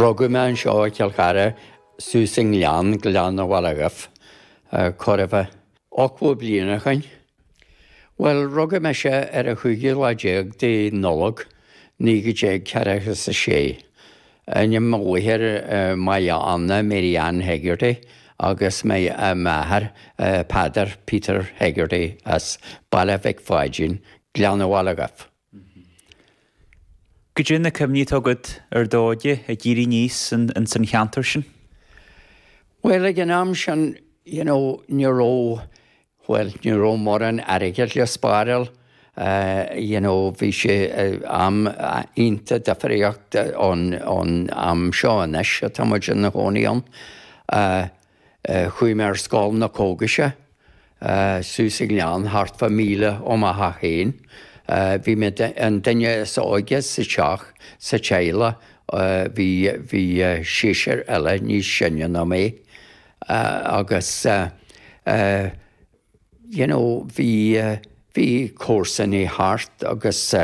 Rugadh mé anseo i Cill Chartha, suas i nGleann, Gleann an Bhaile Dhuibh, chóir a bheith 80 bliain ó shoin. Bhuel, rugadh mise ar an chúigiú lá déag de Nollaig, 1946. Ainm mo mháthair Máire Anna Mary Ann Hegarty agus m'athair Peadar Peter Hegarty as Baile Mhic Pháidín, Gleann an Bhaile Dhuibh. Goidé na cuimhní atá agat ar d'óige ag éirí aníos ins an cheantar sin? Bhuel, ag an am sin, you know, ní raibh, bhuel, ní raibh mórán airgid le spáráil, you know, bhí sé am iontach difríocht ón am seo anois atá muid ina chónaí ann. Chuaigh mé ar scoil na cógaise suas sa ghleann thart fá mhíle ó mo theach féin. Bhí mé an duine is óige sa teach, sa teaghlach, bhí bhí seisear eile níos sine ná mé agus you know bhí bhí comharsanaí thart agus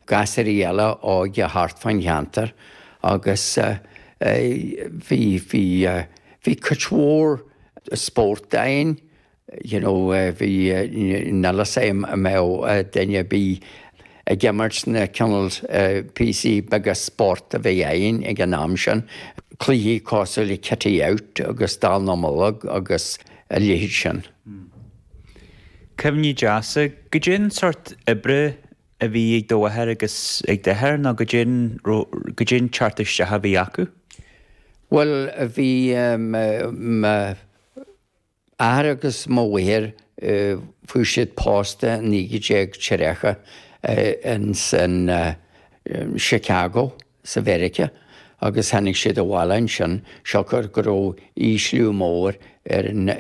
gasúirí eile óga thart fán cheantar agus bhí bhí bhí cuid mhór spórt againn you know bhí níl a fhios agam an mbeadh duine ar bith ag imirt na cineál píosaí beaga spórt a bhí againn ag an am sin, cluichí cosúil le Kitty Out agus Dallamullóg agus a leithéid sin. Cuimhní deasa. Goidé an sórt oibre a bhí ag do mháthair agus ag d'athair nó goidé an goidé an teacht isteach a bhí acu? Bhuel, bhí mo athair agus mo mháthair, fuair siad pósta i 1930 ins an Chicago sa Mheiriceá agus tháinig siad abhaile ansin siocair go raibh ísliú mór ar an.